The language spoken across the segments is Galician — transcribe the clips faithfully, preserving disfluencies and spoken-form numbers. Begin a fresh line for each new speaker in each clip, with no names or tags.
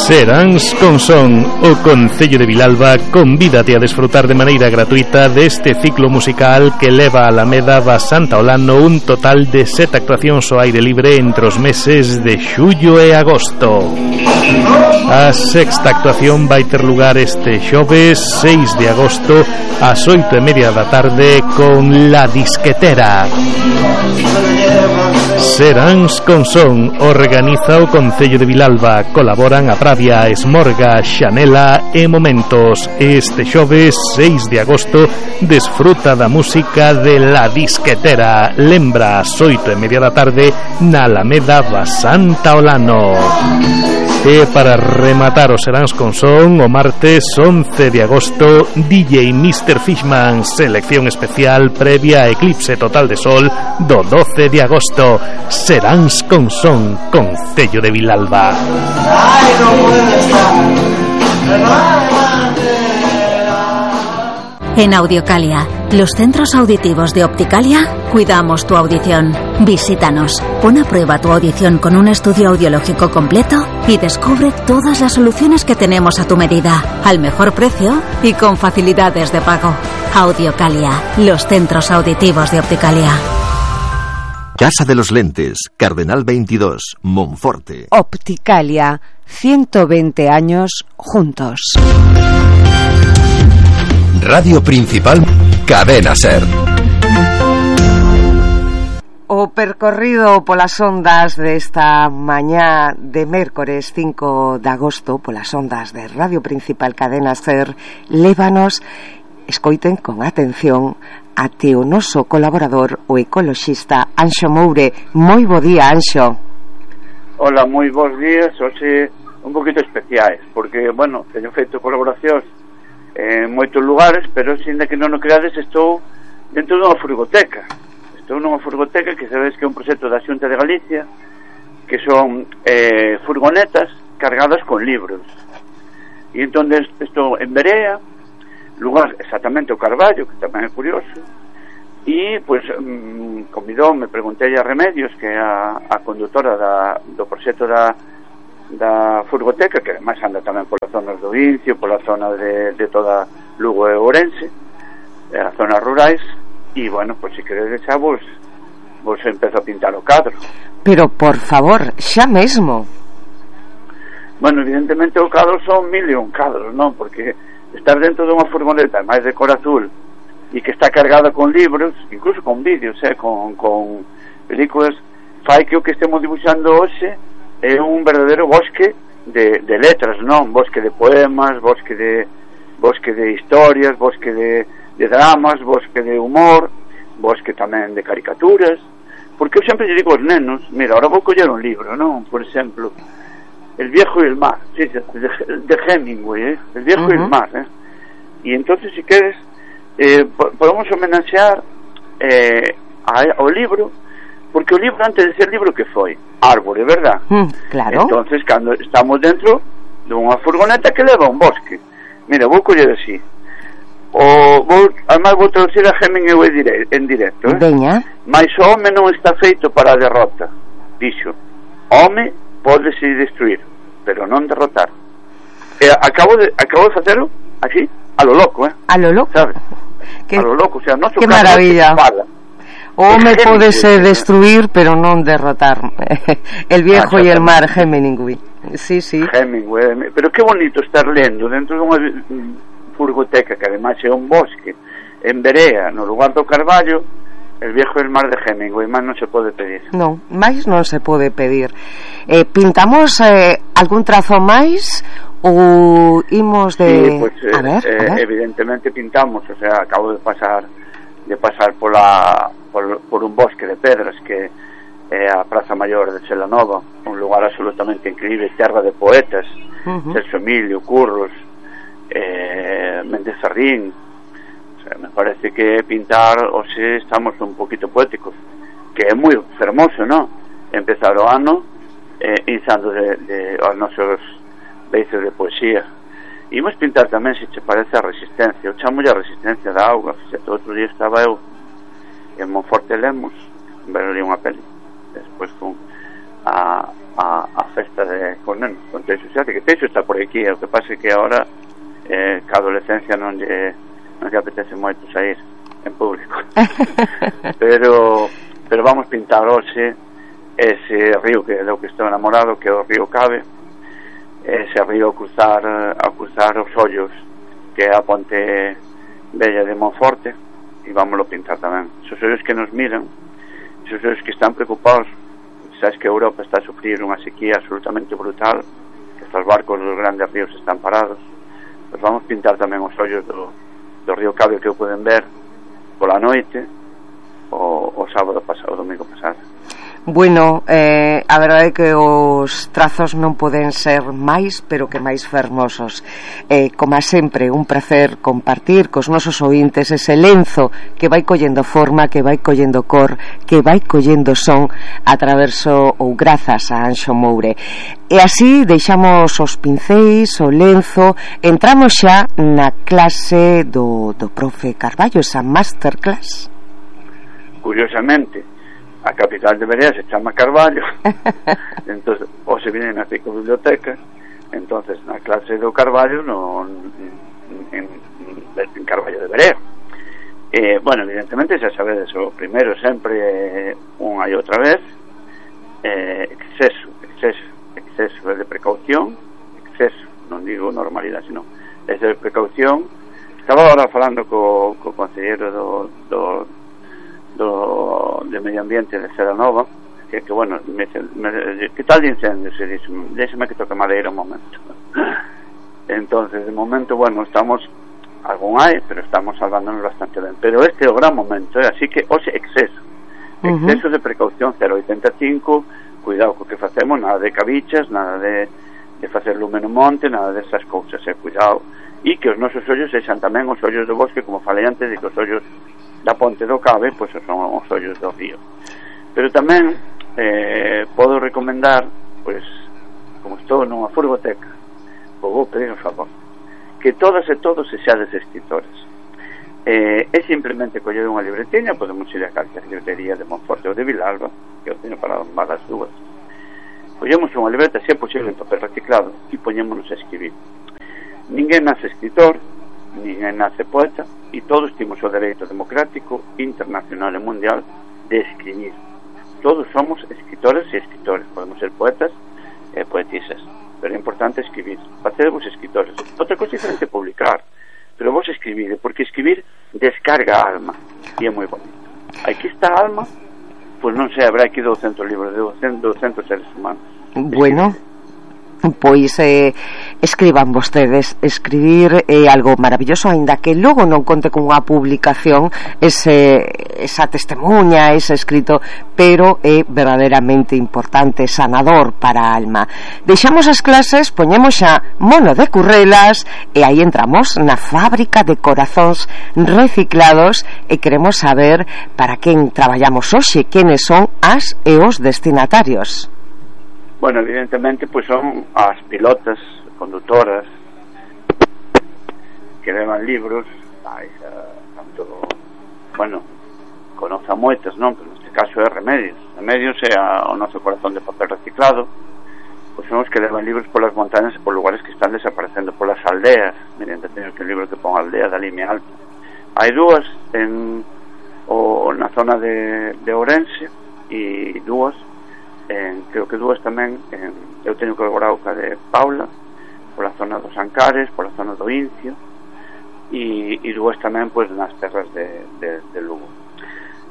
Seráns con Son, o Concello de Vilalba convídate a desfrutar de maneira gratuita deste ciclo musical que leva a Alameda va Santa Olano un total de sete actuacións ao aire libre entre os meses de xullo e agosto. A sexta actuación vai ter lugar este xoves seis de agosto ás oito e media da tarde con La Disquetera. Seráns con Son organiza o Concello de Vilalba. Colaboran a Pravia, Esmorga, Xanela e Momentos. Este xoves seis de agosto desfruta da música de La Disquetera. Lembra ás oito e media da tarde na Alameda va Santa Olano. E para rematar o Seráns con Son, o martes once de agosto, D J mister Fishman, selección especial previa a eclipse total de sol do doce de agosto. Seráns con Son, Concello de Vilalba.
En Audiocalia, los centros auditivos de Opticalia, cuidamos tu audición. Visítanos, pon a prueba tu audición con un estudio audiológico completo y descubre todas las soluciones que tenemos a tu medida, al mejor precio y con facilidades de pago. Audiocalia, los centros auditivos de Opticalia.
Casa de los Lentes, Cardenal veintidós, Monforte.
Opticalia, ciento veinte años juntos.
Radio Principal, Cadena Ser.
O percorrido polas ondas desta mañá de mércores cinco de agosto, polas ondas de Radio Principal Cadena Ser, lévanos, escoiten con atención, até o noso colaborador, o ecoloxista Anxo Moure. Moi bo día, Anxo.
Hola, moi bons días. Hoxe un poquito especiais, porque, bueno, teño feito colaboracións en moitos lugares, pero sinda que non o creades, estou dentro dunha furgoteca. Estou nunha furgoteca que sabedes que é un proxecto da Xunta de Galicia, que son eh, furgonetas cargadas con libros. E entón estou en Berea, lugar exactamente o Carballo, que tamén é curioso, e, pois, mm, convidou, me preguntei a Remedios, que é a, a condutora da, do proxecto da da furgoteca, que ademais anda tamén polas zonas do Vincio, pola zona de, de toda Lugo e Ourense, as zonas rurais, e, bueno, pois, se queredes xa vos, vos empezo a pintar o cadro.
Pero, por favor, xa mesmo.
Bueno, evidentemente o cadro son mil e un cadros, non? Porque estar dentro dunha furgoneta máis de cor azul e que está cargada con libros, incluso con vídeos, eh, con, con películas, fai que o que estemos dibuixando hoxe é un verdadeiro bosque de, de letras, non? Bosque de poemas, bosque de bosque de historias, bosque de, de dramas, bosque de humor, bosque tamén de caricaturas, porque eu sempre lle digo aos nenos, mira, ahora vou coller un libro, non? Por exemplo, El viejo y el mar, sí, de, de Hemingway, eh? El viejo uh-huh. y el mar, eh? Y entonces, si queres, eh, podemos homenaxear eh, ao libro, porque o libro, antes de ser libro, que foi? Árbore, verdad?
Mm, claro.
Entonces, cando estamos dentro dunha furgoneta que leva un bosque, mira, vou coller así, o vou, además vou traducir a Hemingway dire, en directo, eh?
Veña.
Mais o home non está feito para a derrota, dixo. Home pódese destruir, pero non derrotar. E acabo de acabo de facelo así, a lo loco, eh?
A lo loco.
¿Sabes?
Que,
a lo loco, o sea, no
que maravilla. O home podese destruir, pero non derrotar. El viejo ah, e el mar, Hemingway. Sí, sí.
Hemingway. Pero que bonito estar lendo dentro dunha furgoteca, que ademais é un bosque, en Berea, no lugar do Carballo, El viejo e el mar de Hemingway. Máis non se pode pedir.
Non, máis non se pode pedir. Eh, pintamos eh, algún trazo máis ou imos de...
Sí, pues,
a ver,
eh,
a ver.
Evidentemente pintamos, o sea, acabo de pasar de pasar pola, por, por un bosque de pedras que é a Praza Maior de Celanova, un lugar absolutamente increíble, terra de poetas, uh-huh. Celso Emilio, Curros, eh, Méndez Sarrín. O sea, me parece que pintar, o se estamos un poquito poéticos, que é moi fermoso, non? Empezar o ano eh, inzando de, de os nosos beices de poesía. Imos pintar tamén, se che parece, a resistencia. Eu chamo a resistencia da auga. Fixete, outro día estaba eu en Monforte Lemos, ver ali unha peli, despois fun a, a, a festa de con nenos, con Teixo Xate, que Teixo está por aquí, o que pasa é que agora eh, que a adolescencia non lle, non lle apetece moito sair en público. pero pero vamos pintar hoxe ese río que é do que estou enamorado, que é o río Cabe, ese río a cruzar, a cruzar os ollos, que é a ponte bella de Monforte, e vámoslo pintar tamén. Esos ollos que nos miran, esos ollos que están preocupados. Sabes que Europa está a sufrir unha sequía absolutamente brutal, que estos barcos dos grandes ríos están parados. Pues vamos pintar tamén os ollos do, do río Cabe, que o poden ver pola noite o, o sábado pasado, o domingo pasado.
Bueno, eh, a verdade é que os trazos non poden ser máis, pero que máis fermosos. Eh, como sempre, un placer compartir cos nosos ointes ese lenzo que vai collendo forma, que vai collendo cor, que vai collendo son a traverso ou grazas a Anxo Moure. E así deixamos os pincéis, o lenzo, entramos xa na clase do, do profe Carballo, esa masterclass.
Curiosamente, a capital de Berea se chama Carballo. Entonces, ou se viene na biblioteca, entonces na clase do Carballo no, en, en Carballo de Berea. Eh, bueno, evidentemente xa sabedes, o primeiro sempre unha e outra vez, eh, exceso, exceso, exceso é de precaución, exceso, non digo normalidade, sino é de precaución. Estaba agora falando co, co conselleiro do, do do de medio ambiente de Ceranova, que, que bueno, me, me, que tal de incendio, se dice, déxeme que toque madeira un momento. Entonces, de momento, bueno, estamos, algún hai, pero estamos salvándonos bastante ben, pero este é o gran momento, eh? Así que, oxe, exceso exceso uh-huh. de precaución, cero oitenta e cinco, cuidado co que facemos, nada de cabichas, nada de, de facer lume no monte, nada desas cousas, eh? Cuidado, e que os nosos ollos sexan tamén os ollos do bosque, como falei antes, de que os ollos da ponte do Cabe, pois pues, son os ollos do río. Pero tamén eh, podo recomendar, pois, como estou nunha furgoteca, vou pedir un favor, que todas e todos sexades escritores. Eh, é simplemente coller unha libretiña, podemos ir a calquer librería de Monforte ou de Vilalba, que eu teño para ambas as dúas. Collemos unha libreta, se é posible en papel reciclado, e poñémonos a escribir. Ninguén nace escritor, ninguén nace poeta, e todos temos o dereito democrático, internacional e mundial de escribir. Todos somos escritores e escritores, podemos ser poetas e poetisas, pero é importante escribir. Facedevos escritores. Outra cosa diferente é publicar, pero vos escribir, porque escribir descarga a alma, e é moi bonito. Aquí está a alma, pois non sei, habrá aquí douscentos libros de douscentos seres humanos.
Bueno, pois eh, escriban vostedes. Escribir é algo maravilloso, aínda que logo non conte con unha publicación ese, esa testemunha, ese escrito, pero é verdadeiramente importante, sanador para a alma. Deixamos as clases, poñemos xa mono de currelas e aí entramos na fábrica de corazóns reciclados e queremos saber para quen traballamos hoxe, quenes son as e os destinatarios.
Bueno, evidentemente, pues son as pilotas, conductoras, que levan libros, ai, tanto, bueno, conozca moitas, non? Pero neste caso é Remedios. Remedios é a, o noso corazón de papel reciclado, pois son os que levan libros polas montañas e por lugares que están desaparecendo, polas aldeas. Miren, teño que un libro que pon aldea da Limia Alta. Hai dúas en, o, na zona de, de Ourense e dúas En, creo que dúas tamén en, eu teño colaborado ca de Paula pola zona dos Ancares, pola zona do Incio e, e dúas tamén pois, nas terras de, de, de Lugo.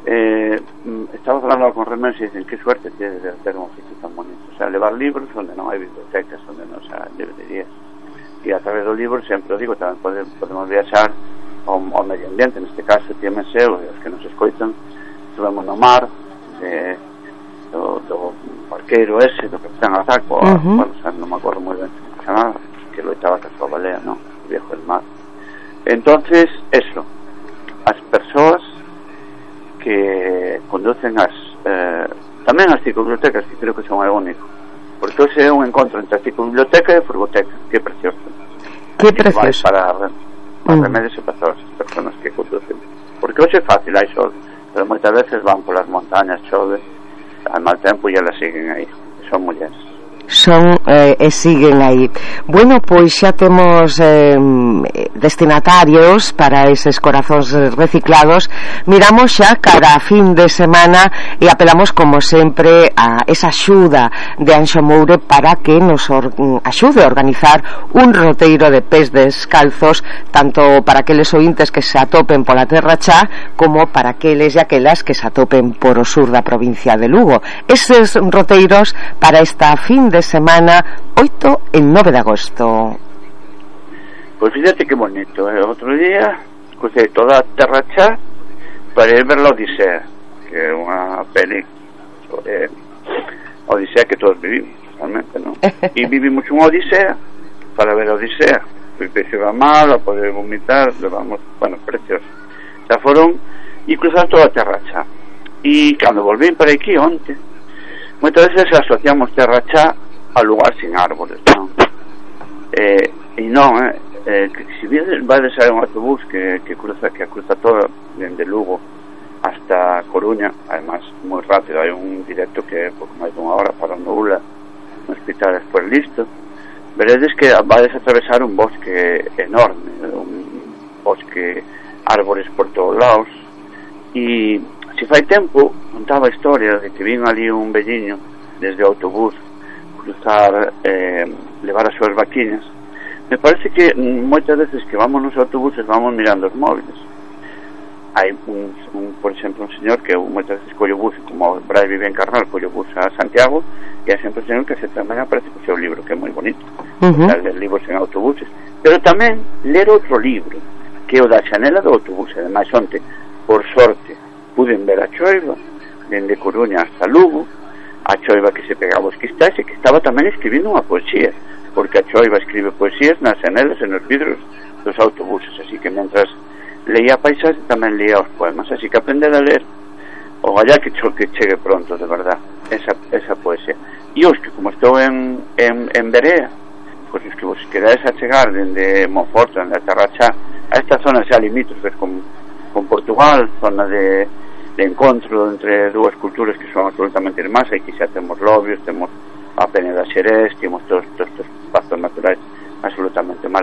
eh, estaba falando con Remedios e dicen que suerte tiene de ter un oficio tan bonito, o sea, levar libros onde non hai bibliotecas, onde non hai librerías, e a través do libro sempre o digo, tamén pode, podemos viaxar ao, ao medio ambiente, neste caso tíamense os que nos escoitan, estuvemos no mar de do, do barqueiro ese, do Capitán Azaco, uh -huh. bueno, o sea, non me acordo moi ben nada, que loitaba ca súa balea, non? O viejo del mar. Entonces, eso, as persoas que conducen as eh, tamén as ciclobibliotecas, que creo que son o único, porque hoxe é un encontro entre a ciclobiblioteca e a furgoteca, que é precioso.
Que precioso.
Para, para uh -huh. Remedios e para as persoas que conducen, porque hoxe é fácil, hai sol, pero moitas veces van polas montañas, chove, al mal tempo e elas siguen aí, son mulleres.
son eh, e siguen aí. Bueno, pois xa temos eh, destinatarios para eses corazóns reciclados. Miramos xa cara a fin de semana e apelamos como sempre a esa axuda de Anxo Moure para que nos or, axude a organizar un roteiro de pés descalzos, tanto para aqueles ointes que se atopen pola Terra Chá como para aqueles e aquelas que se atopen por o sur da provincia de Lugo. Eses roteiros para esta fin de semana oito e nove de agosto.
Pois fíjate que bonito, eh? Outro día crucei toda a Terra Chá para ir ver la Odisea, que é unha peli sobre a Odisea que todos vivimos realmente, non? E vivimos unha Odisea para ver a Odisea. Fui peixe a mal, a poder vomitar, levamos, bueno, precioso. Xa foron e cruzar toda a Terra Chá. E cando volvín para aquí onte, moitas veces asociamos Terra Chá a lugar sin árboles, non? Eh, e non, eh, eh, que se vai de sair un autobús que, que cruza que cruza toda dende Lugo hasta Coruña, además moi rápido, hai un directo que é pouco máis dunha hora para no Ula, no hospital despois listo. Veredes que vais a atravesar un bosque enorme, un bosque, árboles por todos lados. E se fai tempo contaba a historia de que vin ali un velliño desde o autobús cruzar, eh, levar as súas vaquiñas. Me parece que moitas veces que vamos nos autobuses vamos mirando os móviles. Hai un, un por exemplo, un señor que moitas veces colle bus, como o Brais vive en Carral, colle bus a Santiago, e hai sempre un señor que se tamén aparece co seu libro, que é moi bonito, uh-huh. ler libros en autobuses, pero tamén ler outro libro, que é o da Xanela do autobús. Ademais, onte, por sorte, puden ver a choiva dende Coruña hasta Lugo, a choiva que se pegaba os cristais e que estaba tamén escribindo unha poesía, porque a choiva escribe poesías nas xanelas e nos vidros dos autobuses, así que mentras leía a paisaxe tamén leía os poemas, así que aprender a ler o allá que, cho, que chegue pronto, de verdad, esa, esa poesía. E os que, como estou en, en, en Berea, pois os que vos quedades a chegar dende Monforte, dende a Terra Chá, a esta zona xa limítrofes con, con Portugal, zona de, de encontro entre dúas culturas que son absolutamente irmás, aquí xa temos Lobios, temos a Peneda Xerés, temos todos estes espazos naturais absolutamente maravillosos.